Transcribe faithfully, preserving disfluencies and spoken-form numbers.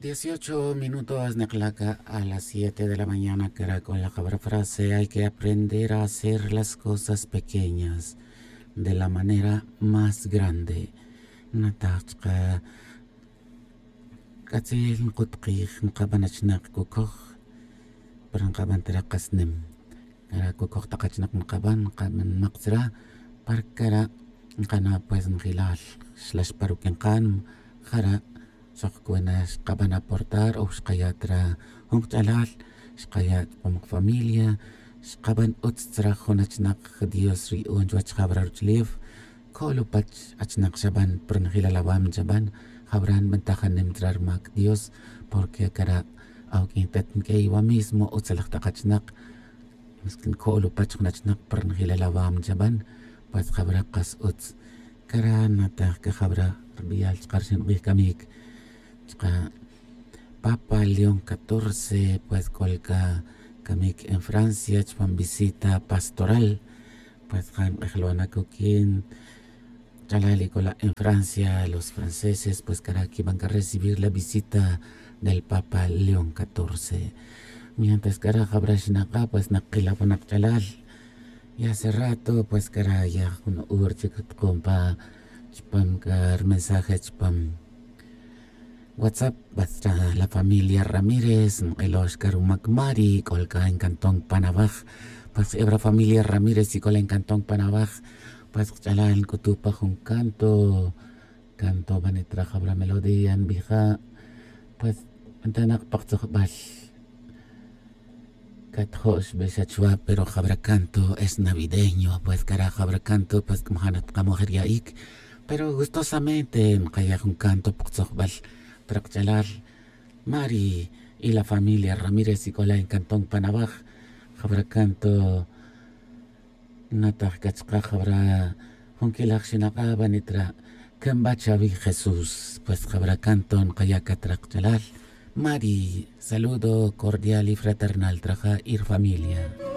Dieciocho minutos, neklaca a las siete de la mañana, caracol la cabra frase: hay que aprender a hacer las cosas pequeñas de la manera más grande. Nataj chka, c'atzel nkut kij nkaban achnak cucoj, pero nkaban tira kas nim. Cara cucoj tak achnak nkaban, nkaban mak tzra, para cara nkana pues njilal xlax pa ruq'uin kan. Jara xok cuena xkaban aportar o xkaya' tra jun kach'alal, xkaya' chupam kafamilia, xkaban utz tzra jun achnak dios riyu'un chuwech jabra ruch'ulef. Co'lupach achnak xaban, pero njilal awam chaban. Jabra nbentajanem tzra rumac dios, porque cara awq'uin tet nq'uey wa mismo utz laj tak achnak. Co'lupach jun achnak, pero njilal awam chaban. Pues jabra kas utz. Cara nataj c'a jabra rbeyal chka rxin k'ij camic chka papa león catorce, pues c'ol c'a camic en francia chupam visita pastoral. Pues ja nk'ejlona cuquin ch'alal y c'ola en francia los franceses, pues cara quiban c'a recibir la visita del papa león catorce. Mientras cara jabra xnaka pues nakila pa nak ch'alal. Y hace rato pues cara ya jun hora chic tukun pa chupam c'a rmensaje chupam whatsapp. Pues la familia ramírez nk'elox c'a rumac mari c'ol c'a en cantón panawaj. Pues ebra familia ramírez y c'ola en cantón panawaj, pues kch'alal nc'utu pa jun canto. Canto banitra jabra melodía nbija. Pues ntanak pa ktzojbal. Catjo' xbexa chwa, pero jabra canto es navideño. Pues cara jabra canto pues c'majanat kamojer ya'ic, pero gustosamente nkaya' jun canto pa ktzojbal. Tra kch'alal mari y la familia ramírez y c'ola en cantón panawaj. Jabra canto nataj c'a chka jabra jun quilaj xinaka banitra. Can ba chawi jesús, pues jabra canto nkaya' c'a tra kch'alal. Mari, saludo cordial y fraternal tra ja y rfamilia.